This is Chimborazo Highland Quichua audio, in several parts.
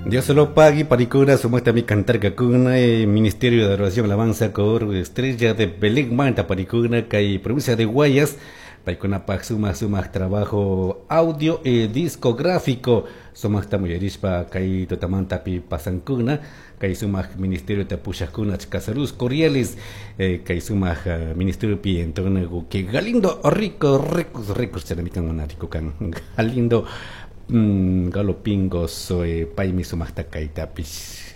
Dios lo pague, paricuna, sumaktami cantarkakuna, Ministerio de Adoración Alabanza, Coro Estrella de Belén, Manta, paricuna, kay provincia de Guayas, paykunapak sumak sumak trabajo audio y discográfico, sumakta muyarishpa kay tutamantapi pasankuna, kay sumak ministerio pushakuna saludos cordiales, kay sumak ministerio pi entonces que Galindo rico ricos ricos chanamikan mana rico kan Galindo galopingo soy paymi sumakta kaytapish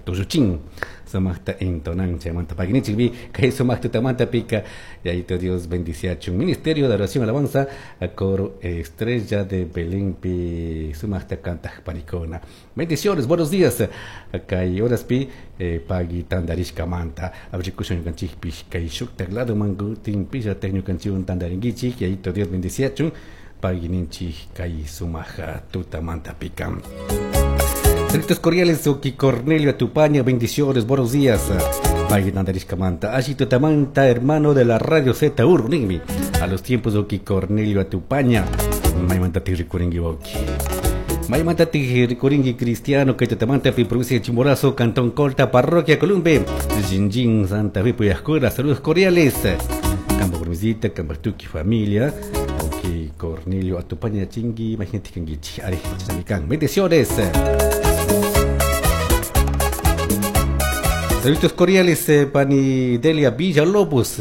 tushuchin sumakta entonan chaymanta paginichikpi kay sumak tutamanta pika yayito Dios bendiciachun Ministerio de Oración Alabanza coro Estrella de Belén pi sumakta kantaq panikuna. Bendiciones, buenos días. Kay horaspi pagui tandarishkamanta abrikushun ñukanchikpish kay shuktak ladoman kutin pillatak ñukanchikwan tandarinkichik yayito Dios bendiciachun pagui kay sumak tutamanta pika. Saludos cordiales, Oki Cornelio Atupaña, bendiciones, buenos días. Pagui tandarishkamanta, Ashi tutamanta, hermano de la radio Z Ur, ningmi. A los tiempos Oki Cornelio Atupaña, maymanta rikurinki Oki. Maymanta rikurinki Cristiano, que tutamanta pi provincia de Chimborazo, Cantón Colta, Parroquia Columbe, Jinjin, Santa Fe, Puyascura, saludos cordiales. Campo Provincita, Campo Tuki, familia. Oki Cornelio Atupaña, chingui, imagínate que Ari, Chanamican. Bendiciones. Saludos cordiales, Pani Delia Villalobos.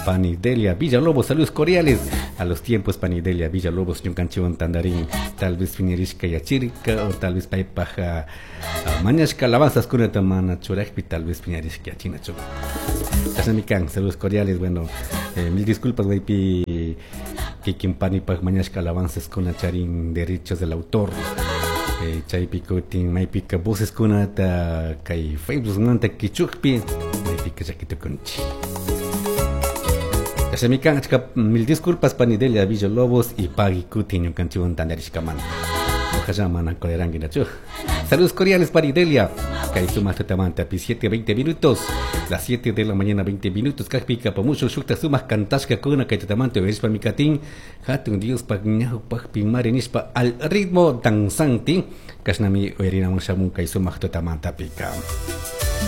Pani Delia Villalobos, saludos cordiales. A los tiempos Pani Delia Villalobos, ñukanchiwan tandarín, tal vez piñerishka yachirka, o tal vez paypaja mañashka alabanzas kunata mana churajpi, tal vez piñerishka yachinachu. Chashnamikan, saludos cordiales, bueno, mil disculpas, maypi kikin panipaj mañashka alabanzas kuna charin derechos del autor. Chaypi kutin maypika voces kunata kay Facebook manta kichukpi maypika llakitukunchik. Chashnamikan, achka mil disculpas Pani Delia Villalobos y pagui kutin ñukanchikwan tandarishkamanta. Ojalá mana coleranguinachu. Saludos cordiales Pani Delia. Kay sumak tutamanta pi 7:20 minutos. Las 7 de la mañana 20 minutos. Kajpika pamusho shukta sumak kantashka kuna kay tutamanta uyarishpa mikatin. Hatun Dios pak ñawpakpi mari nishpa al ritmo danzante. Kashnami uyarinamun shamun kay sumak tutamanta pika.